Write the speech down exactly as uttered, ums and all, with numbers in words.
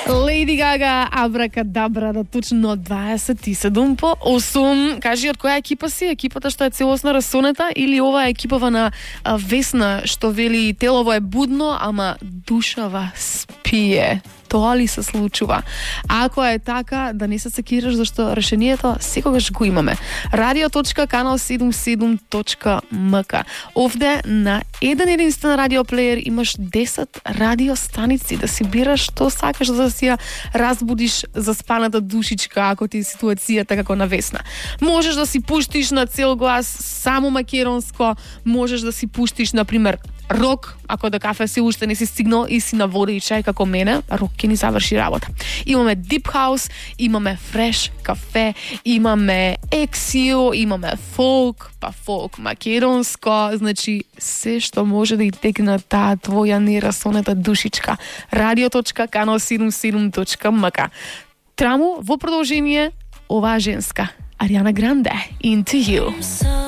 Леди Гага, абракадабра, да точно дваесет и седум по осум. Кажи, од која екипа си? Екипата што е целосно расонета или ова е екипава на а, Весна што вели телово е будно, ама душава спие? Тоа ли се случува? Ако е така, да не се секираш, зашто решението секогаш го имаме. радио точка канал седумдесет и седум точка ем ка. Овде на еден единствен радиоплеер имаш десет радиостаници да си бираш што сакаш да си ја разбудиш заспаната душичка ако ти е ситуацијата како на Весна. Можеш да си пуштиш на цел глас само македонско, можеш да си пуштиш на пример рок, ако до кафе си уште не си стигнал и си на вода и чај како мене, рок ќе ни заврши работа. Имаме Deep House, имаме Fresh кафе, имаме Ексио, имаме фолк, па фолк македонско, значи се што може да и текне таа твоја нерасонета душичка. радио точка канал седумдесет и седум точка ем ка. Траму во продолжение оваа женска Ариана Гранде, Into You.